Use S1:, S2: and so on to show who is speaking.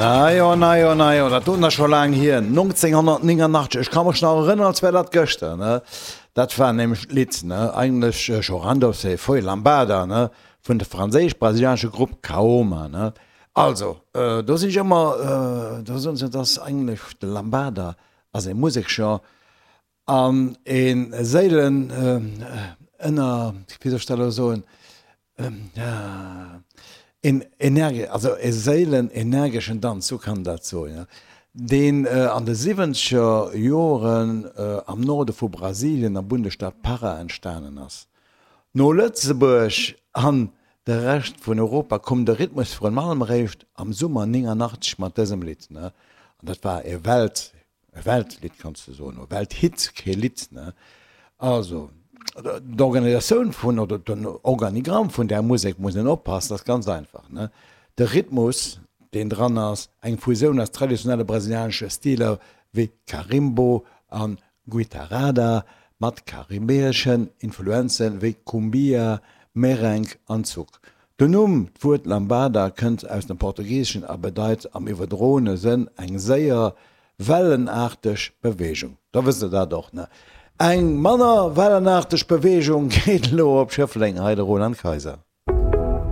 S1: Na jo, na jo, na jo, dat doten ass scho laang hier, 1989, ech ka mech nach erënneren, als wär dat gëschter, ne. Dat war nämlech d'Lidd, ne, eigentlech Chorando se foi lambada, ne, vun de franséisch-brasilianesche Grupp Kaoma, ne. Also, do sinn ech ëmmer, do soen se, et ass eigentlech de Lambada ass e Museksgenre an e Séilen ënner, wéi soll ech dat elo soen, een energe, also e séilen energeschen Danz, sou kann een dat soen, jo, deen an de siwwenzeger Joren am Norde vu Brasilien am Bundesstaat Para entstanen ass. No Lëtzebuerg an de Rescht vun Europa koum de Rhythmus vrun allem eréischt am Summer 89 mat dësem Lidd, ne, an dat war e Welt E Weltlidd kanns de soen, e Welthit, kee Lidd, ne? Also, d'Organisatioun vun, oder den Organigramm vun där Musek muss een oppassen, dat ass ganz einfach, ne? De Rhythmus, deen dran ass, eng Fusioun aus traditionelle brasilianesche Stiler wéi Carimbo a Guitarrada mat karibeeschen Influenze wéi Cumbia, Merengue an Zouk. Den Numm, d'Wuert Lambada kënnt aus dem Portugiseschen a bedeit am iwwerdroene Sënn eng séier, wellenaarteg Beweegung. Da wësst der dat och, ne? Eng manner wellenaarteg Beweegung geet elo op Schëffleng, hei de Roland Kaiser.